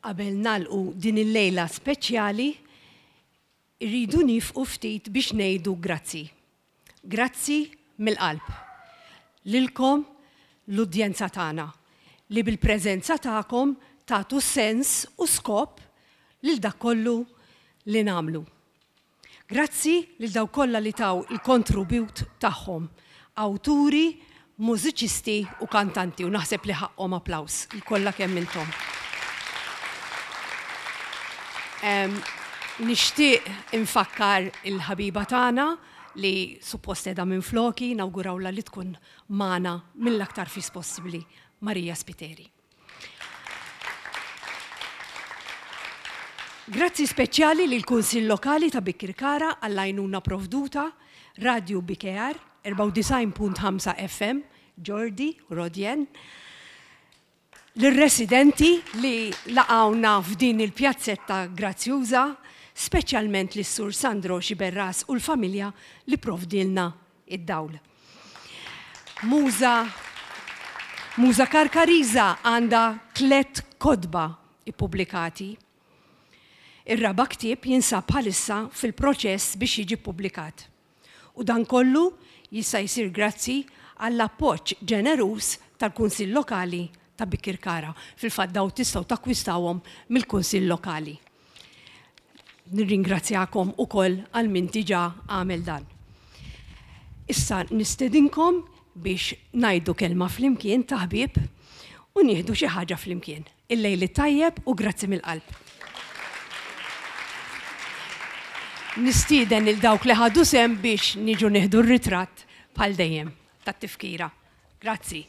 Qabel nagħlqu din il-lejla speċjali, irridu nifqu ftit biex ngħidu grazzi. Grazzi mill-qalb. Lilkom l-udjenza tagħna li bil-preżenza tagħkom tagħtu sens u skop lil dak kollu li nagħmlu. Grazzi lil dawk kollha li taw il-kontribut tagħhom, awturi, mużiċisti u kantanti u naħseb li ħaqqhom applaws il-kollha kemm intom. Nixtieq infakkar il-ħabiba tagħna li suppost qiegħda minfloki, nawgurawlha li tkun magħna mill-aktar fis possibbli, Maria Spiteri. Grazzi speċjali lill-Kunsill Lokali ta' Bikirkara għall-għajnuna provduta, Radju BKR, 94.5 FM, Jordi u Rodjen, lir-residenti li laqgħuna f'din il-pjazzetta grazzjuża, speċjalment lis-Sur Sandro Xiberras u l-familja li provdielna id-dawl. Muża Muża Karkariża għandha tlett kotba ippubblikati. Ir-raba' ktieb jinsab bħalissa fil-proċess biex jiġi ppubblikat. U dan kollu jista' jsir grazzi għall-appoġġ ġeneruż tal-Kunsill Lokali ta' Bikirkara. Fil-fatt dawn tistgħu takkwistawhom mill-Kunsill Lokali. Nirringrazzjakom ukoll għal min diġà għamel dan. Issa nistedinkom biex ngħidu kelma flimkien ta' ħbieb u nieħdu xi ħaġa flimkien. Il-lejl it-tajjeb u grazzi mill-qalb. Nistieden lil dawk li ħadu sehem biex niġu nieħdu r-ritratt bħal dejjem tat-tifkira. Grazzi.